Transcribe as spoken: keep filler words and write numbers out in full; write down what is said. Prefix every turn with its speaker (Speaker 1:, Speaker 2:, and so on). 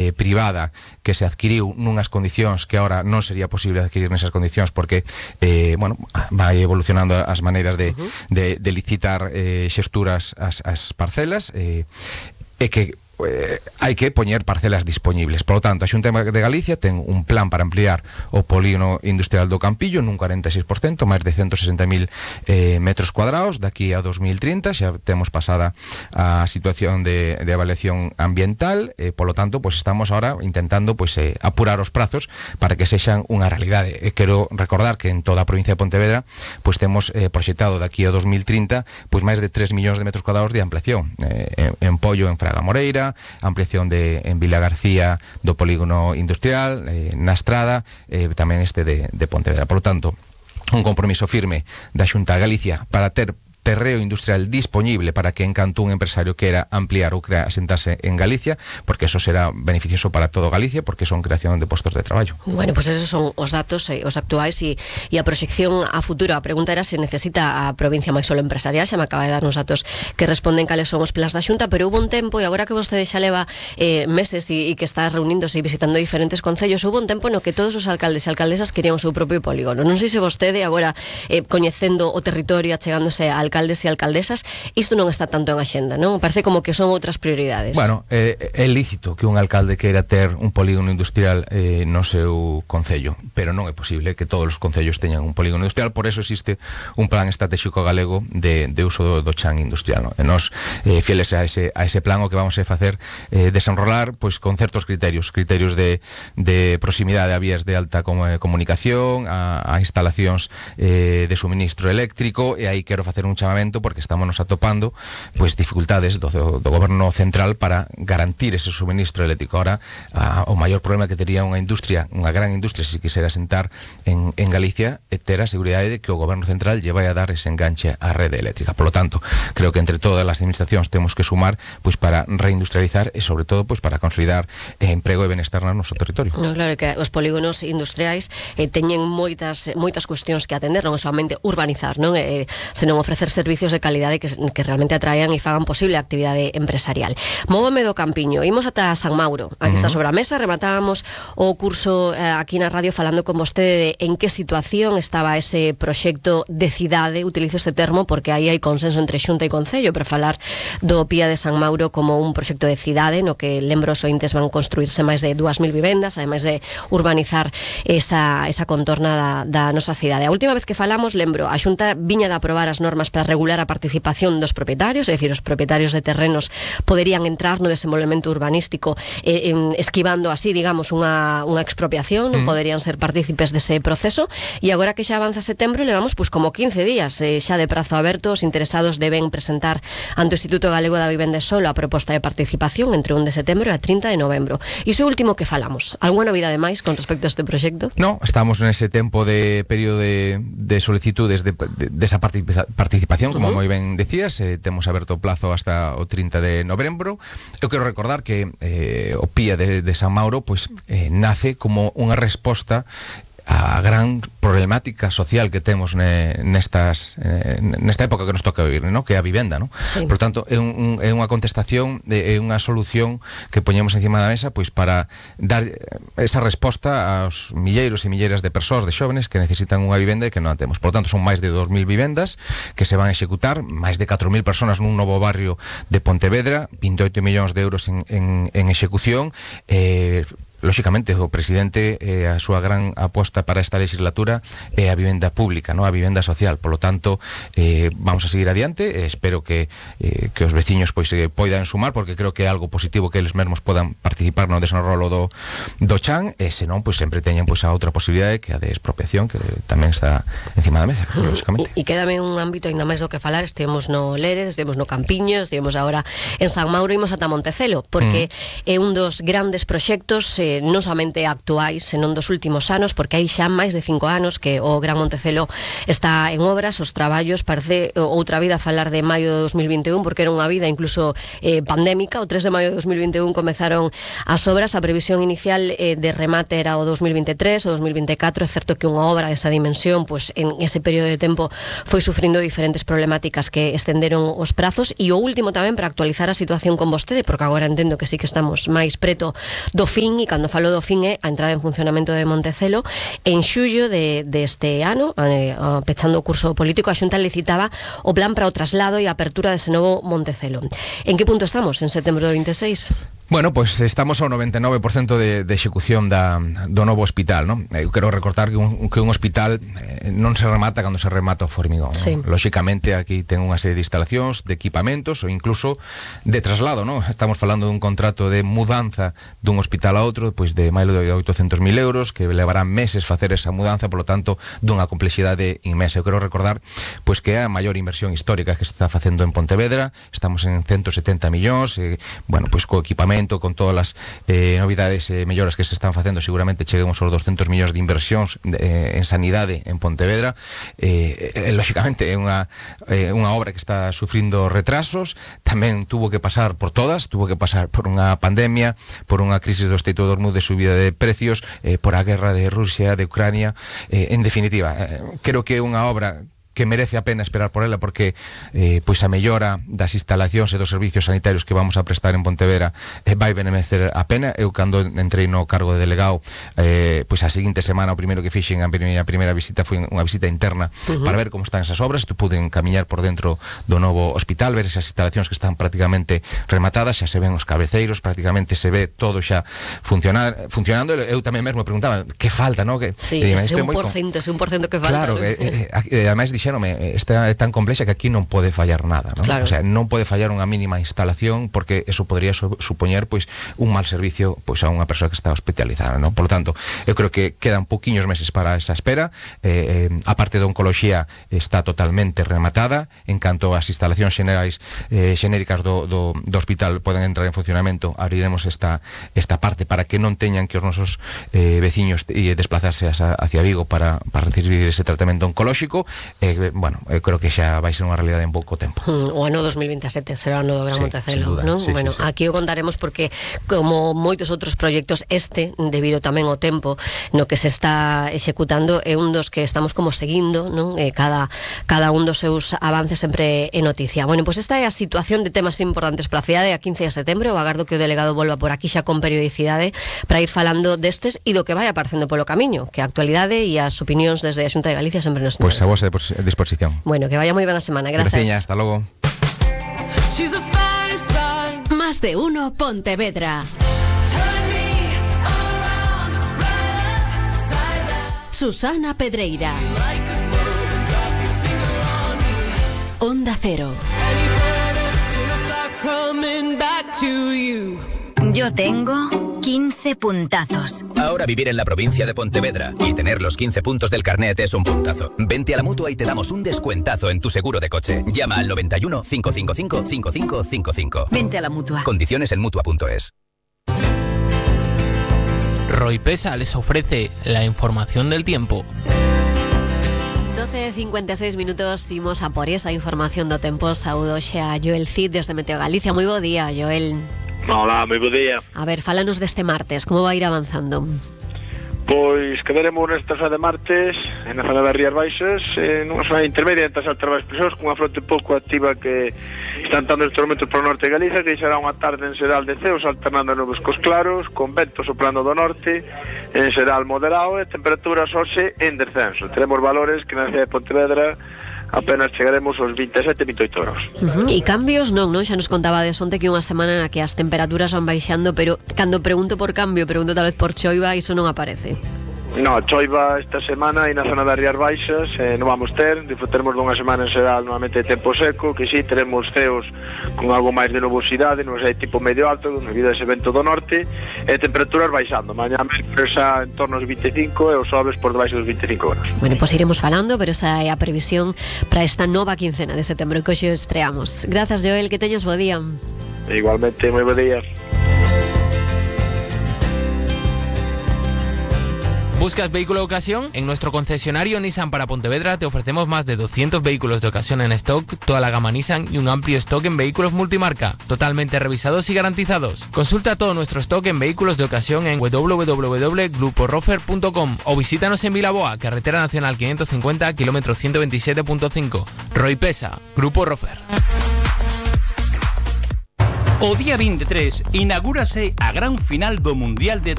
Speaker 1: eh, privada que se adquiriu nunhas condicións que ahora non sería posible adquirir nesas condicións porque, eh, bueno, vai evolucionando as maneiras de, uh-huh. de, de licitar eh, xesturas as, as parcelas, eh, e que Eh, hai que poñer parcelas dispoñibles. Por lo tanto, a Xunta de Galicia ten un plan para ampliar o polígono industrial do Campillo nun cuarenta e seis por cento, máis de ciento sesenta mil eh, metros cuadrados daqui a dos mil trinta. Xa temos pasada a situación de, de avaliación ambiental, e, por lo tanto, pues estamos ahora intentando pues, eh, apurar os prazos para que sexan unha realidade. E quero recordar que en toda a provincia de Pontevedra pues temos eh, proxectado daqui a dos mil trinta pues máis de tres millóns de metros cuadrados de ampliación, eh, en, en Pollo, en Fraga Moreira, ampliación de en Vila García do polígono industrial, eh, na Estrada, eh, tamén este de, de Pontevedra. Por lo tanto, un compromiso firme da Xunta de Galicia para ter terreo industrial disponible para que en canto un empresario quera ampliar ou quera asentarse en Galicia, porque eso será beneficioso para todo Galicia, porque son creación de postos de traballo.
Speaker 2: Bueno, pues esos son os datos, eh, os actuais e, e a proxección a futuro. A pregunta era se necesita a provincia máis solo empresarial. Xa me acaba de dar uns datos que responden cales son os plans da Xunta, pero hubo un tempo, e agora que vostede xa leva eh, meses e, e que está reuníndose e visitando diferentes concellos, hubo un tempo no que todos os alcaldes e alcaldesas querían o seu propio polígono. Non sei se vostede agora, eh, coñecendo o territorio, achegándose a alcaldes e alcaldesas, isto non está tanto en axenda, non? Parece como que son outras prioridades.
Speaker 1: Bueno, eh, é lícito que un alcalde queira ter un polígono industrial eh, no seu concello, pero non é posible que todos os concellos teñan un polígono industrial. Por eso existe un plan estratégico galego de, de uso do, do chan industrial, non? E nos, eh, fieles a ese, a ese plan, o que vamos a facer eh, desenrolar pois, con certos criterios, criterios de, de proximidade a vías de alta comunicación, a, a instalacións eh, de suministro eléctrico, e aí quero facer un chamamento porque estamos nos atopando pues, dificultades do, do, do goberno central para garantir ese suministro eléctrico. Ahora, a, o maior problema que tería unha industria, unha gran industria, se quisera sentar en, en Galicia, é ter a seguridade de que o goberno central lle vai a dar ese enganche á rede eléctrica. Por lo tanto, creo que entre todas as administracións temos que sumar pues, para reindustrializar e, sobre todo, pues, para consolidar eh, emprego e benestar no noso territorio.
Speaker 2: No, claro que os polígonos industriais eh, teñen moitas moitas cuestións que atender, non é somente urbanizar, non é, senón ofrecer servicios de calidade que, que realmente atraian e fagan posible a actividade empresarial. Móvome do Campiño, imos ata San Mauro, aquí uh-huh. está sobre a mesa. Rematábamos o curso eh, aquí na radio falando con vostede de en que situación estaba ese proxecto de cidade, utilizo este termo porque aí hai consenso entre Xunta e Concello para falar do Pía de San Mauro como un proxecto de cidade no que, lembro, os ointes van construirse máis de dúas mil vivendas, ademais de urbanizar esa, esa contorna da, da nosa cidade. A última vez que falamos, lembro, a Xunta viña de aprobar as normas para regular a participación dos propietarios, é dicir, os propietarios de terrenos poderían entrar no desenvolvemento urbanístico eh, eh, esquivando así, digamos, unha, unha expropiación, non mm. poderían ser partícipes dese proceso, e agora que xa avanza setembro, levamos pues, como quince días eh, xa de prazo aberto. Os interesados deben presentar ante o Instituto Galego da Vivenda e Solo a proposta de participación entre un de setembro e a trinta de novembro. E iso último que falamos, alguna novidade máis con respecto a este proxecto?
Speaker 1: No, estamos nese tempo de período de, de solicitudes de, de, de esa participación, como uh-huh. moi ben decías, eh, temos aberto o plazo hasta o trinta de novembro. Eu quero recordar que eh, o Pía de, de San Mauro pues, eh, nace como unha resposta a gran problemática social que temos ne, nestas eh, nesta época que nos toca vivir, ¿no? Que é a vivenda, ¿no? Sí. Por tanto, é, un, é unha contestación, é unha solución que poñemos encima da mesa pois para dar esa resposta aos milleiros e milleiras de persoas, de xóvenes que necesitan unha vivenda e que non a temos. Por tanto, son máis de dos mil vivendas que se van a executar, máis de catro mil persoas nun novo barrio de Pontevedra, vinte e oito millóns de euros en, en, en execución. eh, Lóxicamente, o presidente, eh, a súa gran aposta para esta legislatura é a vivenda pública, ¿no? A vivenda social. Por lo tanto, eh, vamos a seguir adiante. Eh, espero que, eh, que os veciños pois, eh, poidan sumar, porque creo que é algo positivo que eles mesmos podan participar no desenrolo do, do chan, e senón, pois, sempre teñen pois, a outra posibilidade, que a de expropiación, que tamén está encima da mesa, lóxicamente.
Speaker 2: E, e quédame un ámbito ainda máis do que falar. Estivemos no Lérez, estivemos no Campiño, estivemos agora en San Mauro, imos ata Montecelo, porque mm. é un dos grandes proxectos eh, eh, non somente actuais, senón dos últimos anos, porque hai xa máis de cinco anos que o Gran Montecelo está en obras, os traballos, parece outra vida falar de maio de dos mil vinte e un, porque era unha vida incluso eh, pandémica. O tres de maio de dos mil vinte e un comezaron as obras, a previsión inicial eh, de remate era o dos mil vinte e tres, o dos mil vinte e catro. É certo que unha obra desa dimensión, pues, en ese período de tempo foi sufrindo diferentes problemáticas que estenderon os prazos. E o último tamén, para actualizar a situación con vostede, porque agora entendo que sí que estamos máis preto do fin, e cando falo do fin é a entrada en funcionamento de Montecelo. En xullo de, deste ano, eh, pechando o curso político, a Xunta licitaba o plan para o traslado e a apertura dese novo Montecelo. En que punto estamos en setembro do vinte e seis?
Speaker 1: Bueno, pues estamos ao noventa e nove por cento de, de execución da, do novo hospital, non? Eu quero recortar que un, que un hospital eh, non se remata cando se remata o formigón,
Speaker 2: sí.
Speaker 1: ¿no? Lóxicamente aquí ten unha serie de instalacións, de equipamentos ou incluso de traslado, non? Estamos falando dun contrato de mudanza dun hospital a outro, pois de máis de oitocentos mil euros, que levarán meses facer esa mudanza, polo tanto, dunha complexidade inmensa. Eu quero recordar pois que é a maior inversión histórica que se está facendo en Pontevedra. Estamos en ciento setenta millóns, eh, bueno, pois co equipamento, con todas as eh, novidades e eh, melloras que se están facendo, seguramente cheguemos aos doscentos millóns de inversións eh, en sanidade en Pontevedra. Eh, eh, lóxicamente é unha, eh, unha obra que está sufrindo retrasos, tamén tuvo que pasar por todas, tuvo que pasar por unha pandemia, por unha crisis do Estado do Hormuz, de subida de precios, eh, por a guerra de Rusia, de Ucrania. Eh, en definitiva, eh, creo que é unha obra que merece a pena esperar por ela, porque eh, pois a mellora das instalacións e dos servicios sanitarios que vamos a prestar en Pontevedra eh, vai benemecer a pena. Eu, cando entrei no cargo de delegado, eh, pois a seguinte semana, o primeiro que fixen, a primeira, a primeira visita foi unha visita interna, uh-huh, para ver como están esas obras. Tu puden camiñar por dentro do novo hospital, ver esas instalacións que están prácticamente rematadas, xa se ven os cabeceiros, prácticamente se ve todo xa funcionar, funcionando. Eu tamén mesmo preguntaba, que falta, no? Que,
Speaker 2: sí,
Speaker 1: eh,
Speaker 2: ese un por cento, ese un por cento que falta.
Speaker 1: Claro,
Speaker 2: ¿no?
Speaker 1: eh, eh, ademais dixéronme, esta é tan complexa que aquí non pode fallar nada, ¿no?
Speaker 2: Claro.
Speaker 1: O sea, non pode fallar unha mínima instalación, porque eso podría su supoñer pois un mal servicio pois a unha persoa que está hospitalizada, ¿no? Por lo tanto, eu creo que quedan poquiños meses para esa espera. Eh, eh, a parte de oncología está totalmente rematada. En canto ás instalacións xenerais eh, xenéricas do, do, do hospital poden entrar en funcionamento, abriremos esta, esta parte para que non teñan que os nosos eh, veciños e desplazarse hacia Vigo para, para recibir ese tratamento oncolóxico. Eh, bueno, eu creo que xa vai ser unha realidade en pouco tempo.
Speaker 2: Mm, o ano dos mil vinte e sete será o ano do Gran
Speaker 1: sí,
Speaker 2: Montecelo, non?
Speaker 1: Sí,
Speaker 2: bueno,
Speaker 1: sí, sí.
Speaker 2: Aquí o contaremos, porque como moitos outros proxectos, este, debido tamén ao tempo no que se está executando, é un dos que estamos como seguindo, non? Eh, cada, cada un dos seus avances sempre é noticia. Bueno, pois pues esta é a situación de temas importantes para a cidade a quince de setembro. Eu agardo que o delegado volva por aquí xa con periodicidade para ir falando destes e do que vai aparecendo polo camiño, que a actualidade e as opinións desde a Xunta de Galicia sempre nos
Speaker 1: Pois pues a vosa disposición.
Speaker 2: Bueno, que vaya moi ben a semana. Gracias.
Speaker 1: Graciña, hasta logo.
Speaker 3: Más de uno Pontevedra. Susana Pedreira. Onda Cero.
Speaker 4: Yo tengo quince puntazos.
Speaker 5: Ahora vivir en la provincia de Pontevedra y tener los quince puntos del carnet es un puntazo. Vente a la Mutua y te damos un descuentazo en tu seguro de coche. Llama al noventa y uno, cinco cinco cinco, cinco cinco cinco cinco.
Speaker 4: Vente a la Mutua.
Speaker 5: Condiciones en mutua punto es.
Speaker 6: Roipesa les ofrece la información del tiempo.
Speaker 2: doce cincuenta y seis minutos, imos a por esa información do tempo. Saúdo xa a Joel Cid desde Meteo Galicia. Moi bo día, Joel.
Speaker 7: Hola, moi bo día.
Speaker 2: A ver, fálanos deste martes, como vai ir avanzando?
Speaker 7: Pois quedaremos nesta zona de martes, na zona das Rías Baixas, en unha zona intermedia entre as altas expresores, con unha fronte pouco activa que están dando estes momentos para o norte de Galicia, que será unha tarde en xeral de ceos alternando nubes cos claros, con vento soplando do norte, en xeral moderado, e temperaturas hoxe en descenso. Teremos valores que na cidade de Pontevedra apenas chegaremos aos vinte e sete, vinte e oito graus.
Speaker 2: Uh-huh. E cambios non, non? Xa nos contaba de onte que unha semana na que as temperaturas van baixando, pero cando pregunto por cambio, pregunto tal vez por choiva, iso non aparece.
Speaker 7: No, choiva esta semana e na zona das Rías Baixas eh, non vamos ter, disfrutaremos dunha semana en xeral normalmente de tempo seco, que sí, teremos ceos con algo máis de nubosidade, non sei, tipo medio alto, debido a ese vento do norte, e temperaturas baixando, mañá mércores en torno aos vinte e cinco e os xoves por debaixo dos vinte e cinco graus.
Speaker 2: Bueno, pois pues iremos falando, pero esa é a previsión para esta nova quincena de setembro que hoxe estreamos. Grazas, Joel, que teñas bo día.
Speaker 7: Igualmente, moi bo día.
Speaker 6: ¿Buscas vehículo de ocasión? En nuestro concesionario Nissan para Pontevedra te ofrecemos más de doscientos vehículos de ocasión en stock, toda la gama Nissan y un amplio stock en vehículos multimarca, totalmente revisados y garantizados. Consulta todo nuestro stock en vehículos de ocasión en w w w punto grupo rofer punto com o visítanos en Vilaboa, carretera nacional quinientos cincuenta, kilómetro ciento veintisiete punto cinco. Roy Pesa, Grupo Rofer.
Speaker 8: O día veintitrés inaugúrase a gran final do Mundial de